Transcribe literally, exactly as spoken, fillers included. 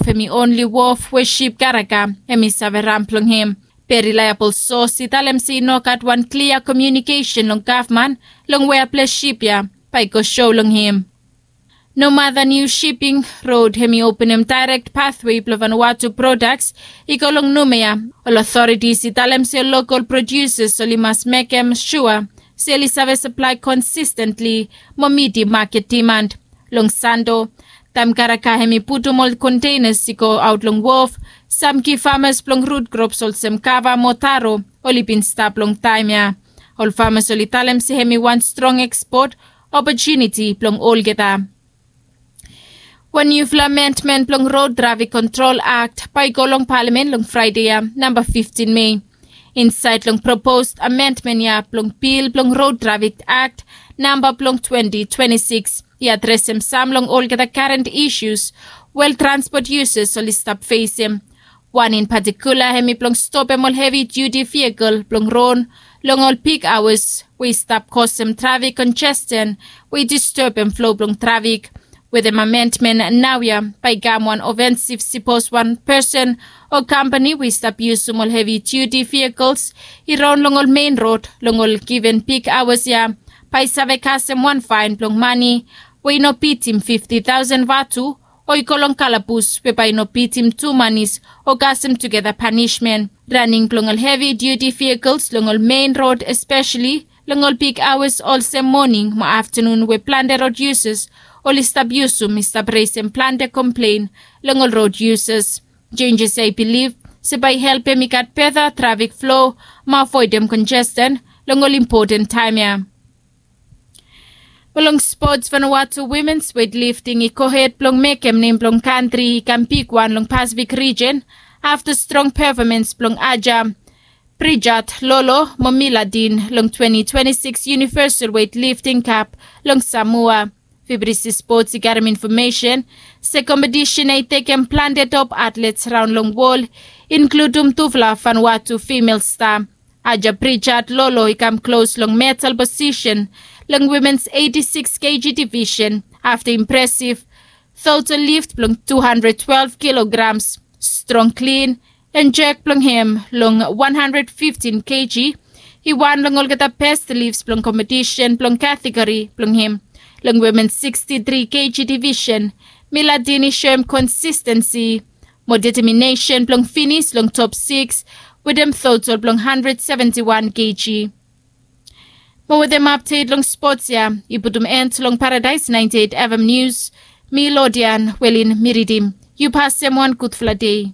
Hemi onli wof we sip karaga hemi save ram blong hem. Be reliabol sos i talem se i no gat wan klia komiunikesen long gavman long wea ples sip ya bae i go so long hem. Nomata niu siping rod hemi openem daerek pathwe blong vanwatu prodaks i go long numea. Ol otoritis i talem se lokol prodiusas oli mas mekem sua se oli save saplae konsistentli mo mitim maket dimand. Long sando taem karaga hemi putum ol konteinas i go aot long wof, sam gi famas blong rut krops olsem kava mo taro oli bin stap long taem ya. Ol famas oli talem se hemi wan strong ekspot opotuniti blong olgeta. Wan niufala amendmen blong rod trafik kontrol akt bae i go long palamen long fraede ya, namba fiftin mei. Insaed long propos amendmen ya blong bil blong rod trafik akt namba blong twenti twenti sikis i adresem sam long olgeta karen isus we ol transpot yusas oli stap fesem. Wan in patikula hemi blong stopem ol hevi diuti viakel blong ron long ol big aoas we i stap kosem trafik konjesten we i distebem flo blong trafik. Wetem amendmen naoia bae i kam wan ofensif sipos wan pesen o kampani we i stap yusum ol hevi diuti viakels i ron long ol mein rod long ol given big aoas ya bae i save kasem wan faen blong mane we i no bitim fifti taosen vatu o i go long kalabus we bae i no bitim tu manis o kasem tugeta panismen. Raning blong ol hevi diuti viakels long ol mein rod espeseli long ol big aoas olsem moning mo aftanun we plante rod yusas oli stap yusum i stap resem plante komplen long ol rod yusas. Jenjes ya i bilif se bae i helpem i gat beta trafik flo mo avoedem konjesten long ol impoten taem ya. Mo long spots, Vanuatu wimens wetlifting i gohed blong mekem nem blong kantri i kam bigwan long Pasifik rijen afta strong pefomans blong Aja Prijat Lolo mo Miladin long twenti twenti sikis Univesal Wetlifting Kap long Samoa. Fibrisi Spots i karem infomesen se kompetisen ya i tekem plante top atlets raon long wol, inkludum tufala Vanuatu fimel sta. Aja Prijat Lolo i kam klos long medal posisen long wimens eiti sikis keji divisen afta impresif total lift blong tu handred twelef kilograms, strong klin, en jek blong hem long wan handred fiftin keji i wan long olgeta bes lifs blong kompetisen blong kategori blong hem. Long wimen siksti tri keji divisen, Miladin i soem konsistensi mo deteminesen blong finis long top sikis wetem total blong handred seventi wan keji. Mo wetem apdet long spots ya i putum en long Paradaes naenti eit FM Nius, mi Lodian Welin mi ridim. Yu pasem wan gudfala dei.